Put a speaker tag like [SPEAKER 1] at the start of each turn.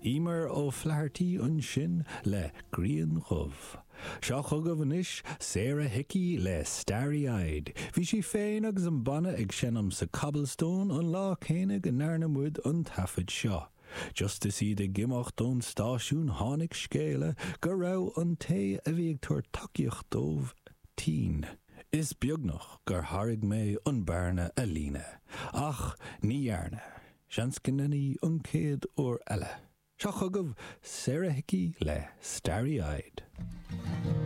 [SPEAKER 1] Emer O'Flaherty ansin le Grian Dhubh. Seo chugaibh anois Sarah Hickey le Starry Eyed. Bhí sí féin agus an banna ag seinm sa Cobblestone an lá céanna go ndearna muid an taifead seo. Just is iad ag imeacht ón stáisiún tháinig scéala go raibh an té a bhí ag tabhairt tacaíocht dóibh tinn. Is beagnach gur thairg mé an bearna a líonadh, ach ní dhearna. Seans go ndéanfaidh an chéad uair eile. Seo chugaibh Sarah Hickey le Starry Eyed.